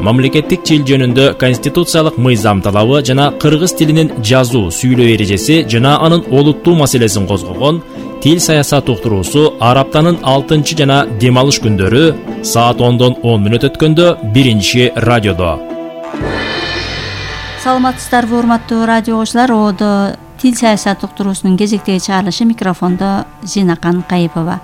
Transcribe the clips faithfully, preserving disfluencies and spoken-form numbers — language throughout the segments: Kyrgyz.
мамлекеттик тил жөнүндө конституциялык мыйзам талабы жана кыргыз тилинин жазуу, сүйлөө эрежеси жана анын олуттуу маселесин козгогон Тил саясат уктуруусу ар аптанын алтынчы жана дем алыш күндөрү саат ондон он мүнөт өткөндө биринчи радиодо. Саламатсыздарбы, урматтуу радио оглучулар. Одо Тил саясат уктуруусунун кезектеги чыгарылышы, микрофондо Зинакан Кайыпова.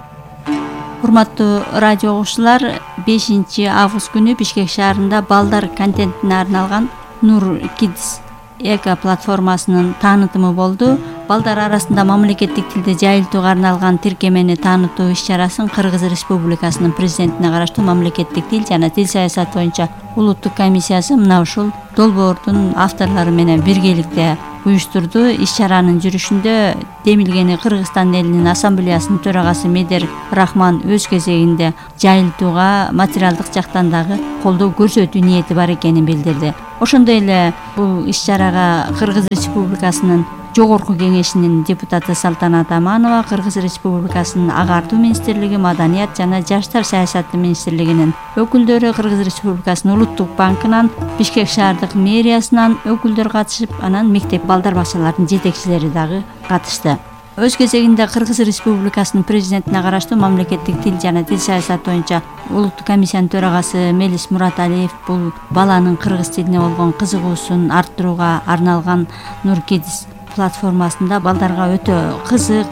Урматтуу радио оглучулар, бешинчи август күнү Бишкек шаарында балдар контентине арналган Нур Kids эко платформасынын таанытымы болду. Балдар арасында мамлекеттик тилде жайылтууга арналган тиркемени таанытуу иш-чарасын Кыргыз Республикасынын президентине караштуу мамлекеттик тил жана тил саясаты боюнча улуттук комиссиясы мына ушул долбоордун авторлору менен биргеликте уюштурду. Иш-чаранын жүрүшүндө Демилгени Кыргызстан элинин ассамблеясынын төрагасы Медер Рахман өз кезегинде жайылтууга материалдык жактан дагы колдоо көрсөтүү ниети бар экенин билдирди. Ошондой эле бул иш-чарага Кыргыз Республикасынын Жогорку кеңешинин депутаты Салтанат Аманова, Кыргыз Республикасынын Агартуу министрлиги, Маданият жана Жаштар саясаты министрлигинин өкүлдөрү, Кыргыз Республикасынын Улуттук банкынан, Бишкек шаардык мэриясынан өкүлдөр катышып, анан мектеп балдар бакчаларынын жетекчилери дагы катышты. Өз кезегинде Кыргыз Республикасынын президентине караштуу мамлекеттик тил жана тил саясаты боюнча улуттук комиссиянын төрагасы Мелис Мураталиев бул баланын кыргыз тилине болгон кызыгуусун арттырууга арналган Нур Kids платформасында балдарга өтө кызык,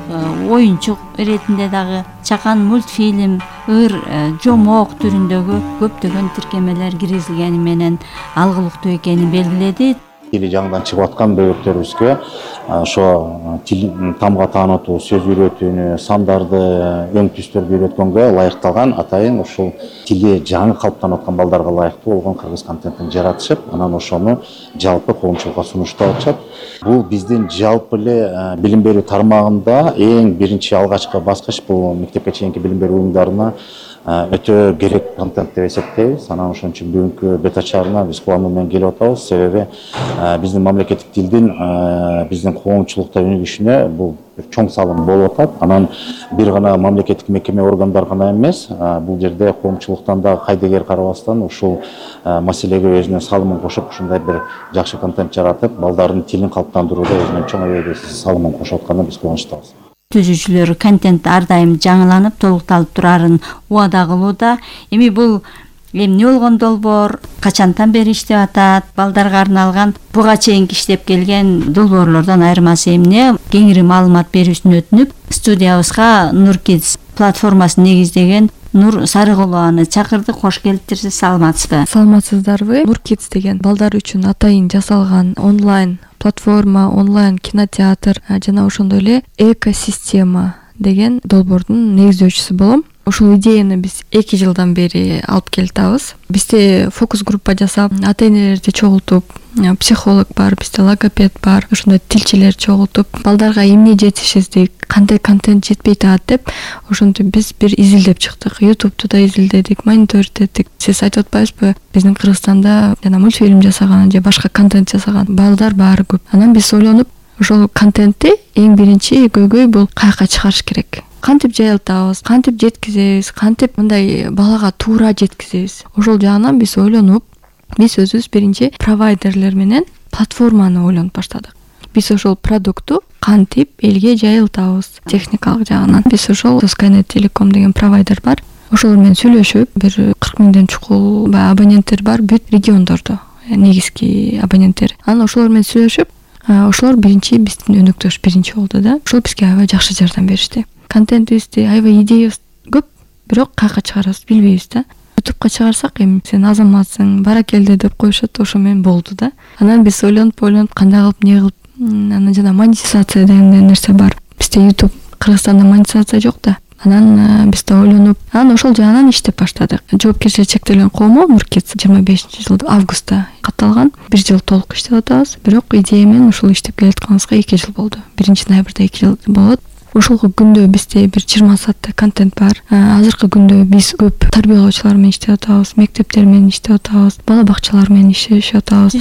оюнчук иретинде дагы чакан мультфильм, ыр, жомок түрүндөгү көптөгөн тиркемелер киргизилгени менен алгылыктуу экенин белгиледи. Тили жаңыдан чыгып аткан бөбөктөрүбүзгө ошо тил тамга таанытуу, сөз үйрөтүүнү, сандарды, өң түстөрдү үйрөткөнгө ылайыкталган атайын ушул тили жаңы калыптанып аткан балдарга ылайыктуу болгон кыргыз контентин жаратышып, анан ошону жалпы коомчулукка сунуштап атышат. Бул биздин жалпы эле билим берүү тармагында эң биринчи алгачкы баскыч, бул мектепке чейинки билим берүү уюмдарына өтө керек контент деп эсептейбиз. Анан ошон үчүн бүгүнкү бет ачарына биз кубануу менен келип атабыз. Себеби биздин мамлекеттик тилдин биздин коомчулукта өнүгүшүнө бул чоң салым болуп атат. Анан бир гана мамлекеттик мекеме органдар гана эмес, бул жерде коомчулуктан да кайдыгер карабастан ушул маселеге өзүнүн салымын кошуп, ушундай бир жакшы контент жаратып, балдардын тилин калыптандырууда өзүнүн чоң эбеси салымын кошуп атканына биз кубанычтабыз. Түзүүчүлөр контент ар дайым жаңыланып, толукталып турарын убада кылууда. Эми бул эмне болгон долбоор, качантан бери иштеп атат, балдарга арналган буга чейин иштеп келген долбоорлордон айырмасы эмне? Кеңири маалымат берүүсүн өтүнүп, студиябызга Нур Kids платформасын негиздеген Нур Сарыгулованы чакырдык. Кош келиптирсиз, саламатсызбы? Саламатсыздарбы? Нур Kids деген балдар үчүн атайын жасалган онлайн платформа, онлайн кинотеатр жана ошондой эле экосистема деген долбоордун негиздөөчүсү болом. Ушул идеяны биз эки жылдан бери алып келатабыз. Бизде фокус группа жасап, ата-энелерди чогултуп, психолог бар, бизде логопед бар, ошондой тилчилер чогултуп, балдарга эмне жетишсиздик, кандай контент жетпей атат деп, ошентип биз бир изилдеп чыктык. ютубту да изилдедик, монитордедик. Сиз айтып атпайсызбы, биздин Кыргызстанда жана мультфильм жасаган же башка контент жасаган балдар баары көп. Анан биз ойлонуп, ошол контентти эң биринчи көйгөй бул каяка чыгарыш керек. Кантип жайылтабыз, кантип жеткизебиз, кантип мындай балага туура жеткизебиз. Ошол жагынан биз ойлонуп, биз өзүбүз биринчи провайдерлер менен платформаны ойлонуп баштадык. Биз ошол продукту кантип элге жайылтабыз техникалык жагынан. Биз ошол Skynet Telecom деген провайдер бар. Ошолор менен сүйлөшүп, бир кырк миңден чукул абоненттер бар бүт региондордо, негизги абоненттер. Анан ошолор менен сүйлөшүп, ошолор биринчи биздин өнөктөш биринчи болду да. Ошол бизге аябай жакшы жардам беришти. Контентибизди, аябай идеябыз көп, бирок каяка чыгарабыз билбейбиз да. ютубка чыгарсак, эми сен азаматсың, баракелде деп коюшат, ошо менен болду да. Анан биз ойлонуп, ойлонуп, кандай кылып, эмне кылып, анан жана монетизация деген нерсе бар. Бизде YouTube Кыргызстанда монетизация жок да. Анан биз да ойлонуп, анан ошол жагынан иштеп баштадык. Жоопкерчилиги чектелген коому Нур Kids жыйырма бешинчи жылы августта катталган. Бир жыл толук иштеп атабыз, бирок идея менен ушул иштеп келатканыбызга эки жыл болду. биринчи ноябрда эки жыл болот. Ушул күндө бизде бир жыйырма сааттай контент бар. Азыркы күндө биз көп тарбиялоочулар менен иштеп атабыз, мектептер менен иштеп атабыз, бала бакчалар менен иштеп атабыз.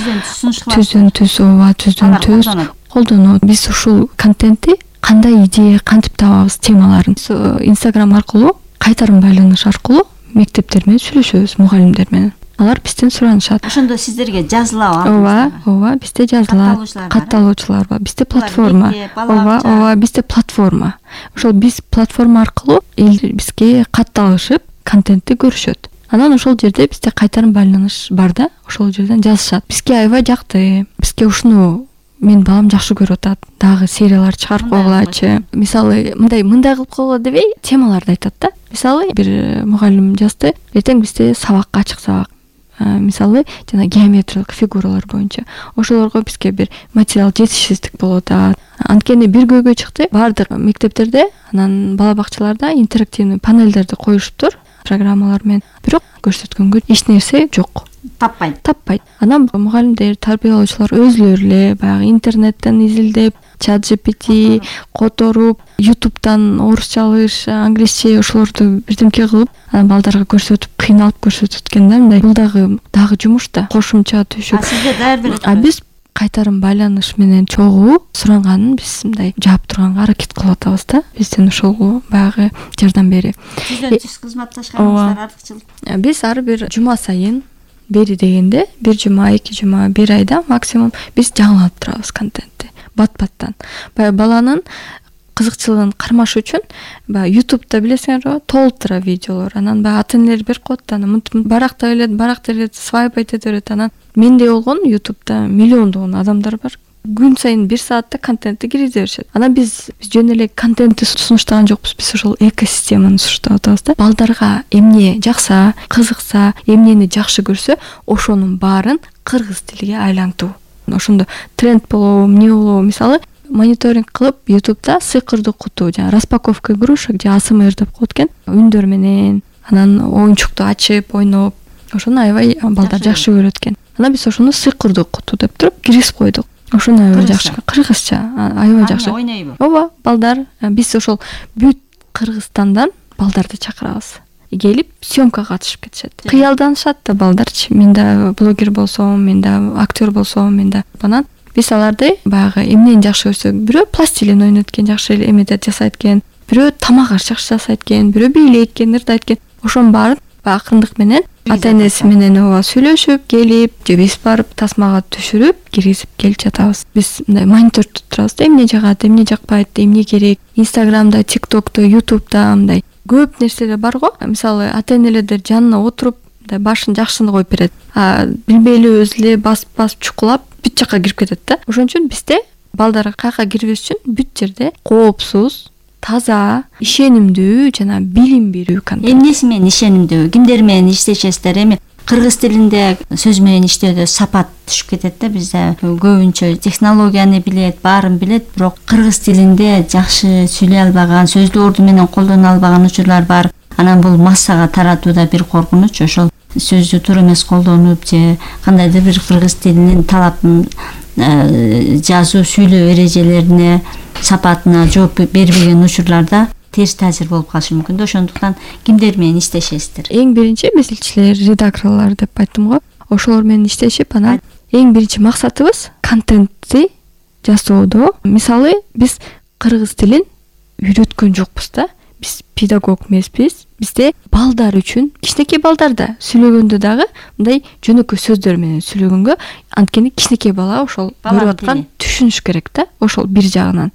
Түздөн түз, ооба, түздөн түз колдонот. Биз ушул контентти кандай идея, кантип табабыз темаларын Instagram аркылуу, кайтарым байланыш аркылуу мектептер менен сүйлөшөбүз, мугалимдер менен. алар бизден суранышат. Ошондо сиздерге жазылабы? Ооба, ооба, бизде жазылат. Катталуучулар бар. Бизде платформа. Ооба, ооба, бизде платформа. Ошол биз платформа аркылуу эл бизге катталышып, контентти көрүшөт. Анан ошол жерде бизде кайтарым байланыш бар да, ошол жерден жазышат. Бизге аябай жакты. Бизге ушуну мен балам жакшы көрүп атат. Дагы сериялар чыгарып койгулачы. Мисалы, мындай мындай кылып койгула дебей, темаларды айтат да. Мисалы, бир мугалим жазды. Эртең бизде сабакка ачык сабак. Мисалы, жана геометриялык фигуралар боюнча. Ошолорго бизге бир материал жетишсиздик болуп атат. Анткени бир көйгөй чыкты. Бардык мектептерде, анан бала бакчаларда интерактивный панелдерди коюшуптур, программалар менен. Бирок көрсөткөнгө эч нерсе жок. Таппайт. Таппайт. Анан мугалимдер, тарбиялоочулар өзүлөрү эле баягы интернеттен изилдеп, чат джи пи ти которуп, ютубтан орусчалыш, англисче ошолорду бирдемке кылып, анан балдарга көрсөтүп, кыйналып көрсөтөт экен да. Мындай бул дагы дагы жумуш да, кошумча түшүп. А сизде даяр берет? А биз кайтарым байланыш менен чогуу суранганын биз мындай жаап турганга аракет кылып атабыз да. Бизден ошол баягы жардам берип. Түздөн түз кызматташканыңыздар артыкчыл. Биз ар бир жума сайын бери дегенде бир жума, эки жума, бир айда максимум биз жаңылап турабыз контентти. Бат-баттан. Баягы баланын кызыкчылыгын кармаш үчүн баягы ютубта билесиңерби, толтура видеолор. Анан баягы ата-энелер берип коет, анан баракта элет, баракта элет, свайп ете берет. Анан менде болгон ютубта миллиондогон адамдар бар. Күн сайын бир саатта контентти киргизе беришет. Анан биз биз жөн эле контентти сунуштаган жокпуз. Биз ошол экосистеманы сунуштап атабыз да. Балдарга эмне жакса, кызыкса, эмнени жакшы көрсө, ошонун баарын кыргыз тилиге айлантуу. Ошондо тренд болобу, эмне болобу, мисалы, мониторинг кылып ютубта сыйкырдуу куту, жана распаковка игрушек же АСМР деп коет экен, үндөр менен, анан оюнчукту ачып, ойноп, ошону аябай балдар жакшы көрөт экен. Анан биз ошону сыйкырдуу куту деп туруп киргизип койдук. Ошону аябай жакшы, кыргызча, аябай жакшы. Ойнойбу? Ооба, балдар, биз ошол бүт Кыргызстандан балдарды чакырабыз. Келип съемкага катышып кетишет. Кыялданышат да балдарчы. Мен да блогер болсом, мен да актер болсом, мен да. Анан биз аларды баягы эмнени жакшы көрсө, бирөө пластилин ойнойт экен, жакшы эле эметет жасайт экен, бирөө тамак аш жакшы жасайт экен, бирөө бийлейт экен, ырдайт экен. Ошонун баарын акырындык менен ата-энеси менен ооба сүйлөшүп, келип, же биз барып тасмага түшүрүп, киргизип келип жатабыз. Биз мындай монитор туруп турабыз да, эмне жагат, эмне жакпайт, эмне керек. Инстаграмда, тиктокто, ютубта мындай көп нерселер бар го. Мисалы, ата-энелер жанына отуруп, мындай башын жакшыны коюп берет. А билбей эле өзү эле басып-басып чукулап, бүт жакка кирип кетет да. Ошон үчүн бизде балдар каяка кирбеш үчүн бүт жерде коопсуз, таза, ишенимдүү жана билим берүү контент. Эмнеси менен ишенимдүү? Кимдер менен иштешесиздер? Эми кыргыз тилинде сөз менен иштөөдө сапат түшүп кетет да. Бизде көбүнчө технологияны билет, баарын билет, бирок кыргыз тилинде жакшы сүйлөй албаган, сөздүк орду менен колдоно албаган учурлар бар. Анан бул массага таратууда бир коркунуч. Ошол сөздү туура эмес колдонуп же кандайдыр бир кыргыз тилинин талабын жазуу сүйлөө эрежелерине, сапатына жооп бербеген учурларда терс таасир болуп калышы мүмкүн да. Ошондуктан кимдер менен иштешесиздер? Эң биринчи биз элчилер, редакторлор деп айттым го. Ошолор менен иштешип, анан эң биринчи максатыбыз контентти жасоодо. Мисалы, биз кыргыз тилин үйрөткөн жокпуз да. Биз педагог эмеспиз. Бизде балдар үчүн, кичинекей балдар да сүйлөгөндө дагы мындай жөнөкөй сөздөр менен сүйлөгөнгө, анткени кичинекей бала ошол көрүп аткан түшүнүш керек да. Ошол бир жагынан.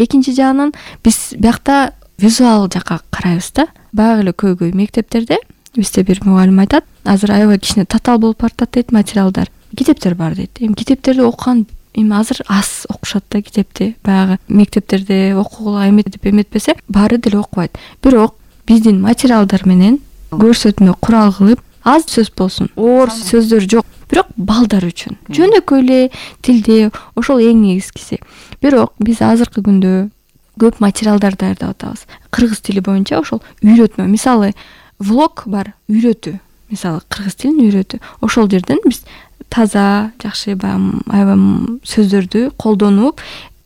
Экинчи жагынан биз биякта визуал жакка карайбыз да. Баягы эле көйгөй мектептерде бизде бир мугалим айтат, азыр аябай кичине татаал болуп бартат дейт материалдар. Китептер бар дейт. Эми китептерди окуган эми азыр аз окушат да китепти. Баягы мектептерде окугула эмет деп эметпесе, баары деле окубайт. Бирок биздин материалдар менен көрсөтмө курал кылып, аз сөз болсун, оор сөздөр жок, бирок балдар үчүн жөнөкөй эле тилде, ошол эң негизгиси. Бирок биз азыркы күндө көп материалдар даярдап атабыз. Кыргыз тили боюнча ошол үйрөтмө. Мисалы, влог бар, үйрөтүү. Мисалы, кыргыз тилин үйрөтүү. Ошол жерден биз таза, жакшы аябай сөздөрдү колдонуп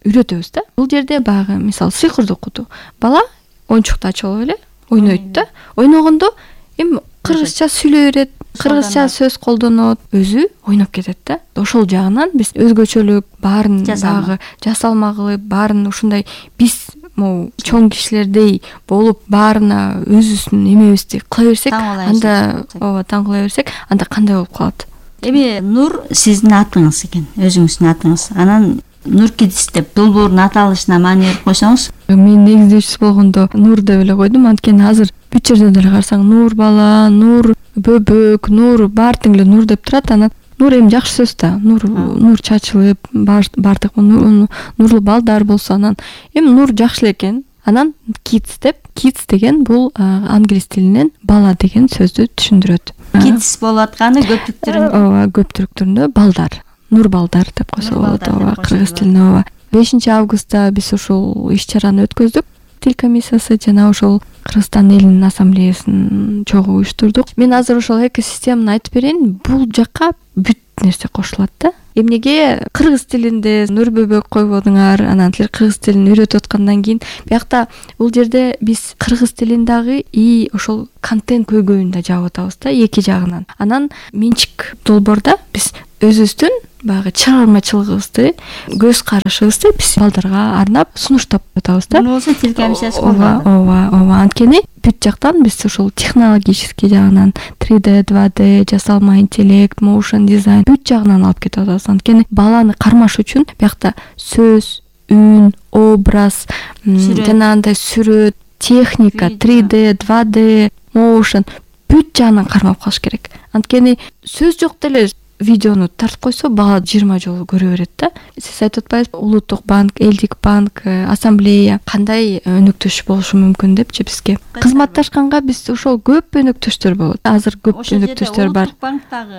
үйрөтөбүз да. Бул жерде баягы мисалы сыйкырдуу куту. Бала оюнчукту ачып алып эле ойнойт да. Ойногондо эми кыргызча сүйлөй берет, кыргызча сөз колдонот, өзү ойноп кетет да. Ошол жагынан биз өзгөчөлүк баарын баягы жасалма кылып, баарын ушундай биз могу чоң кишилердей болуп баарына өзүбүздүн эмебизди кыла берсек, анда ооба таң кыла берсек, анда кандай болуп калат? Эми Нур сиздин атыңыз экен, өзүңүздүн атыңыз. Анан Нур Kids деп долбоордун аталышына маани берип койсоңуз. Мен негиздөөчүсү болгондо Нур деп эле койдум, анткени азыр бүт жерде деле карасаң Нур бала, Нур бөбөк, Нур баардык эле Нур деп турат. Анан Нур эми жакшы сөз да. Нур нур чачылып, баардык нурлуу балдар болсо, анан эми Нур жакшы эле экен. Анан Kids деп, Kids деген бул англис тилинен бала деген сөздү түшүндүрөт. Kids болуп атканы көптүк түрүндө. Ооба, көптүк түрүндө балдар. Нур балдар деп койсо болот. Ооба, кыргыз тилинде ооба. бешинчи августта биз ушул иш-чараны өткөздүк. Тил комиссиясы жана ошол Кыргызстан элинин ассамблеясын чогуу уюштурдук. Мен азыр ошол экосистеманы айтып берейин. Бул жакка бүт нерсе кошулат да. Эмнеге кыргыз тилинде Нур бөбөк койбодуңар, анан силер кыргыз тилин үйрөтүп аткандан кийин, биякта бул жерде биз кыргыз тилин дагы и ошол контент көйгөйүн да жаап атабыз да, эки жагынан. Анан менчик долбоордо биз өзүбүздүн баягы чыгармачылыгыбызды, көз карашыбызды биз балдарга арнап сунуштап атабыз да. Муну болсо тил комиссиясы ооба, ооба, ооба. Анткени бүт жактан биз ошол технологический жагынан три дэ, два дэ, жасалма интеллект, motion design бүт жагынан алып кетип атабыз. Анткени баланы кармаш үчүн биякта сөз, үн, образ, жана андай сүрөт, техника, три дэ, два дэ, motion бүт жагынан кармап калыш керек. Анткени сөз жок деле видеону тартып койсо бала жыйырма жолу көрө берет да. Сиз айтып атпайсызбы, Улуттук банк, Элдик банк, ассамблея кандай өнөктөш болушу мүмкүн депчи бизге. Кызматташканга биз ошол көп өнөктөштөр болот. Азыр көп өнөктөштөр бар.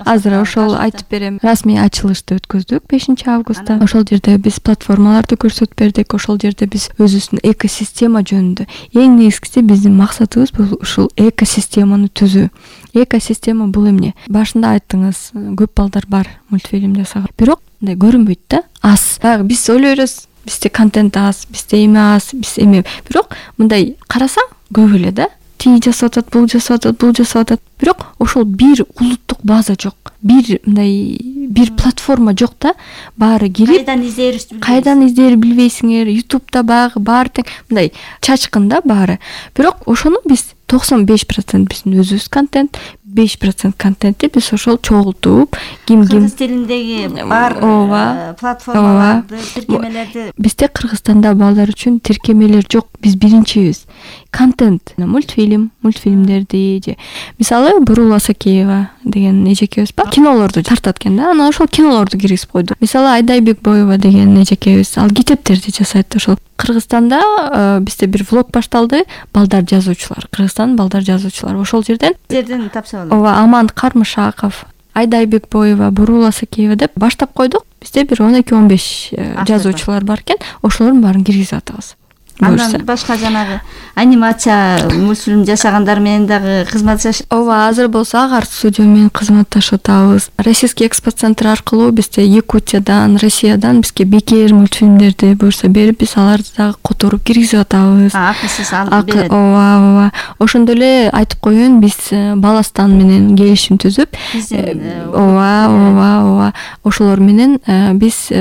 Азыр ошол айтып берем. Расмий ачылышты өткөздүк бешинчи августта. Ошол жерде биз платформаларды көрсөтүп бердик. Ошол жерде биз өзүбүздүн экосистема жөнүндө, эң негизгиси биздин максатыбыз бул ушул экосистеманы түзүү. Экосистема бул эмне? Башында айттыңыз, көп балдар бар мультфильм жасаган. Бирок мындай көрүнбөйт да, аз. Баягы биз ойлой беребиз, бизде контент аз, бизде эме аз, биз эме. Бирок мындай карасаң көп эле да. Ти жасап атат, бул жасап атат, бул жасап атат. Бирок ошол бир улуттук база жок. Бир мындай бир платформа жок да. Баары кирип, кайдан издээрибизди билбейсиң. Кайдан издээрибизди билбейсиңер. YouTube'да багы баары тең мындай чачкын да баары. Бирок ошону биз токсон беш процент биздин өзүбүз контент, беш процент контентти биз ошол чогултуп, ким ким кыргыз тилиндеги бар платформаларды, тиркемелерди. Бизде Кыргызстанда балдар үчүн тиркемелер жок. Биз биринчибиз. Контент, мультфильм, мультфильмдерди же мисалы Бурул Асакеева деген эжекебиз бар. Кинолорду тартат экен да. Анан ошол кинолорду киргизип койду. Мисалы Айдайбек Боева деген эжекебиз ал китептерди жасайт. Ошол Кыргызстанда бизде бир влог башталды. Балдар жазуучулар, Кыргызстан балдар жазуучулар. Ошол жерден жерден тапса болот. Ооба, Аман Кармышаков, Айдайбек Боева, Бурул Асакеева деп баштап койдук. Бизде бир он эки он беш жазуучулар бар экен. Ошолордун баарын киргизип атабыз. Андан башка жанагы анимация мультфильм жасагандар менен дагы кызматташ. Ооба, азыр болсо Агар студия менен кызматташып атабыз. Российский экспоцентр аркылуу бизде Якутиядан, Россиядан бизге бекер мультфильмдерди буюрса берип, биз аларды дагы которуп киргизип атабыз. Акысыз алып берет. Ооба, ооба. Ошондой эле айтып коеюн, биз Баластан менен келишим түзүп, ооба, ооба, ооба. Ошолор менен биз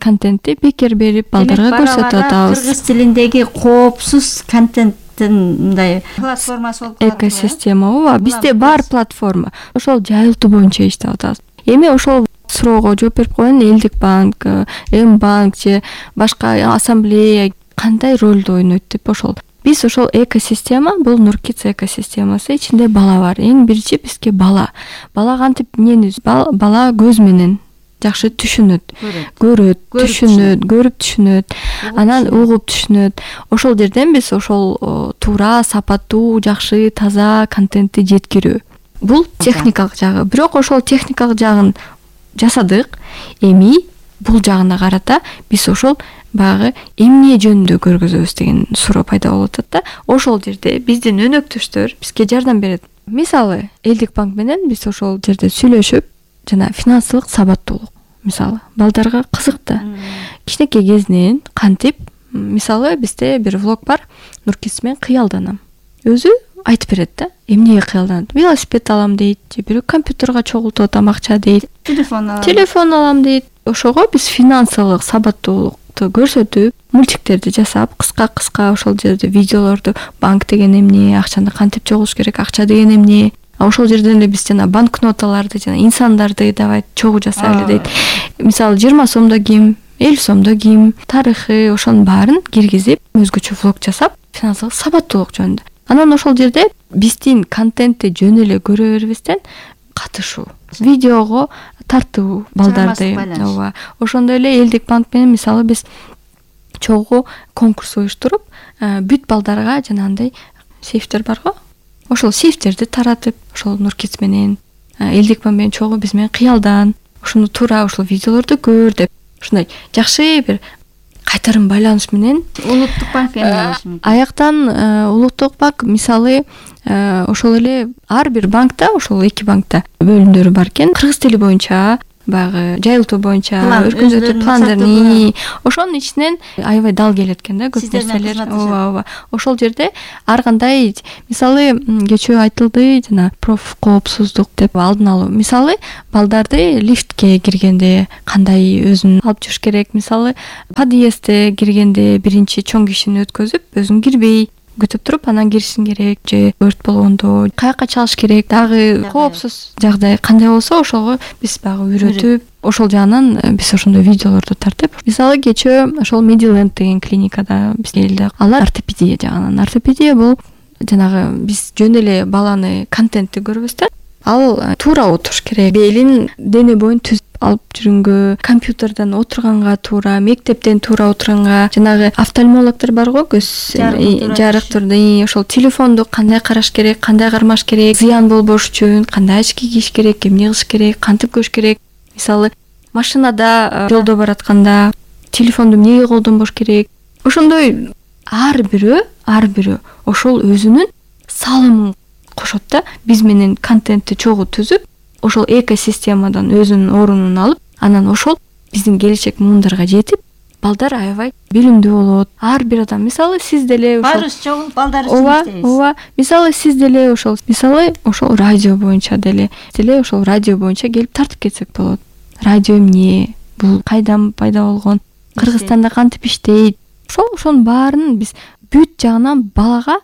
контентти бекер берип балдарга көрсөтүп атабыз. Кыргыз тилинде коопсуз контенттин мындай платформасы болуп калат. Экосистема ооба, бизде бар платформа. Ошол жайылтуу боюнча иштеп атабыз. Эми ошол суроого жооп берип коеюн, Элдик банк, М банк же башка ассамблея кандай ролду ойнойт деп ошол. Биз ошол экосистема, бул Нур Kids экосистемасы, ичинде бала бар. Эң биринчи бизге бала. Бала кантип эмнени бала көз менен жакшы түшүнөт, көрөт, түшүнөт, көрүп түшүнөт, анан угуп түшүнөт. Ошол жерден биз ошол туура, сапаттуу, жакшы, таза контентти жеткирүү. Бул техникалык жагы. Бирок ошол техникалык жагын жасадык. Эми бул жагына карата биз ошол баягы эмне жөнүндө көргөзөбүз деген суроо пайда болуп атат да. Ошол жерде биздин өнөктөштөр бизге жардам берет. Мисалы, Элдик банк менен биз ошол жерде сүйлөшүп, жана финансылык сабаттуулук. Мисалы, балдарга кызыкты. Кичинекей кезинен кантип, мисалы, бизде бир влог бар, Нур Kids менен кыялданам. Өзү айтып берет да, эмнеге кыялданат? Велосипед алам дейт, же бирөө компьютерга чогултуп атам акча дейт. Телефон алам. Телефон алам дейт. Ошого биз финансылык сабаттуулук көрсөтүп, мультиктерди жасап, кыска-кыска ошол жерде видеолорду, банк деген эмне, акчаны кантип чогултуш керек, акча деген эмне, ошол жерден эле биз жана банкноталарды жана инсандарды давай чогуу жасайлы дейт. Мисалы жыйырма сомдо ким, элүү сомдо ким, тарыхы, ошонун баарын киргизип, өзгөчө влог жасап, финансылык сабаттуулук жөнүндө. Анан ошол жерде биздин контентти жөн эле көрө бербестен катышуу, видеого тартуу балдарды, ооба. Ошондой эле Элдик банк менен мисалы биз чогуу конкурс уюштуруп, бүт балдарга жанагындай сейфтер барго. Ошол сейфтерди таратып, ошол Нуркидс менен Элдик банк менен чогуу биз менен кыялдан ушуну туура ушул видеолорду көр деп, ушундай жакшы бир кайтарым байланыш менен Улуттук банк эмне болушу мүмкүн? Аяктан Улуттук банк мисалы ошол эле ар бир банкта, ошол эки банкта бөлүмдөрү бар экен. Кыргыз тили боюнча, баягы жайылтуу боюнча өркүндөтүү пландарын, ошонун ичинен аябай дал келет экен да, көп нерселер. Ооба, ооба. Ошол жерде ар кандай, мисалы кечөө айтылды, жана проф коопсуздук деп алдын алуу. Мисалы балдарды лифтке киргенде кандай өзүн алып жүрүш керек, мисалы подъездде киргенде биринчи чоң кишини өткөзүп, өзүң кирбей күтүп туруп анан киришиң керек, же өрт болгондо каяка чалыш керек, дагы коопсуз жагдай кандай болсо ошого биз баягы үйрөтүп, ошол жагынан биз ошондой видеолорду тартып, мисалы кечөө ошол Медиленд деген клиникада биз келди. Алар ортопедия жагынан. Ортопедия бул жанагы биз жөн эле баланы контентти көрбөстөн, ал туура отуруш керек, белин, дене боюн түзүп алып жүргөнгө, компьютерден отурганга туура, мектептен туура отурганга, жанагы офтальмологдор барго, көз жарыктырды, ошол телефонду кандай караш керек, кандай кармаш керек, зыян болбош үчүн кандай очки кийиш керек, эмне кылыш керек, кантип көрүш керек. Мисалы машинада жолдо баратканда телефонду эмнеге колдонбош керек. Ошондой ар бирөө, ар бирөө ошол өзүнүн салымын кошот да, биз менен контентти чогуу түзүп, ошол экосистемадан өзүнүн орунун алып, анан ошол биздин келечек муундарга жетип, балдар аябай билимдүү болот. Ар бир адам, мисалы сиз деле ошол барыбыз чогуу балдар үчүн иштейбиз. Ооба, мисалы сиз деле ошол, мисалы ошол радио боюнча деле, деле ошол радио боюнча келип тартып кетсек болот. Радио эмне, бул кайдан пайда болгон, Кыргызстанда кантип иштейт, ошол ошонун баарын биз бүт жагынан балага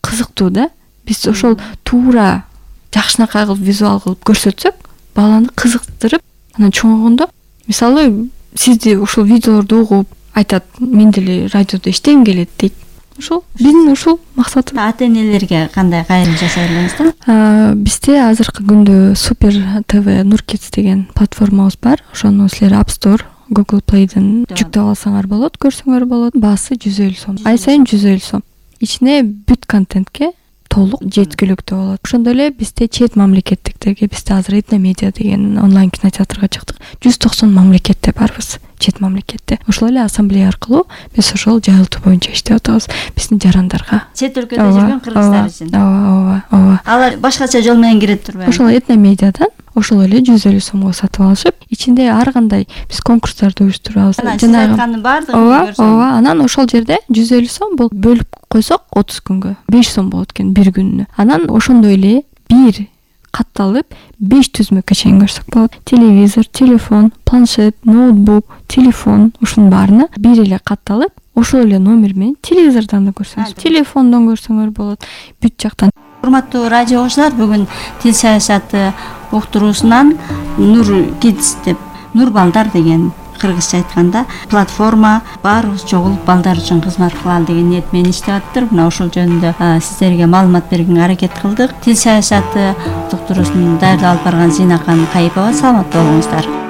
кызыктуу да. Биз ошол туура жакшынакай кылып визуал кылып көрсөтсөк, баланы кызыктырып, анан чоңойгондо, мисалы сизди ушул видеолорду угуп айтат, мен деле радиодо иштегим келет дейт. Ошол биздин ушул максатыбыз. Ата-энелерге кандай кайрым жасай элеңиздер? Бизде азыркы күндө Супер ТВ Нуркидс деген платформабыз бар. Ошону силер App Store, Google Play'ден жүктөп алсаңар болот, көрсөңөр болот. Баасы жүз элүү сом. Ай сайын жүз элүү сом. Ичине бүт контентке толук жеткиликтүү болот. Ошондой эле бизде чет мамлекеттерге, бизде азыр Этно Медиа деген онлайн кинотеатрга чыктык. жүз токсон мамлекетте барбыз, чет мамлекетте. Ошол эле ассамблея аркылуу биз ошол жайылтуу боюнча иштеп атабыз биздин жарандарга. Чет өлкөдө жүргөн кыргыздар үчүн. Ооба, ооба, ооба. Алар башкача жол менен кирет турбайбы? Ошол Этно Медиадан ошол эле жүз элүү сомго сатып алышып, ичинде ар кандай биз конкурстарды уюштурабыз. Жанагы бардыгын көрсөң. Ооба, анан ошол жерде жүз элүү сом бул бөлүп койсок отуз күнгө беш сом болот экен бир күнүнө. Анан ошондой эле бир катталып беш түзмөккө чейин көрсөк болот. Телевизор, телефон, планшет, ноутбук, телефон, ушунун баарына бир эле катталып, ошол эле номер менен телевизордон да көрсөңүз, телефондон көрсөңөр болот, бүт жактан. Урматтуу радио окуучулар, бүгүн тил саясаты уктуруусунан Нуркидс деп, Нур балдар деген кыргызча айтканда платформа баарыбыз чогулуп балдар үчүн кызмат кылалы деген ниет менен иштеп атыптыр. Мына ошол жөнүндө сиздерге маалымат бергенге аракет кылдык. Тил саясаты уктуруусун даярдап алып барган Зинакан Кайыпова, саламатта болуңуздар.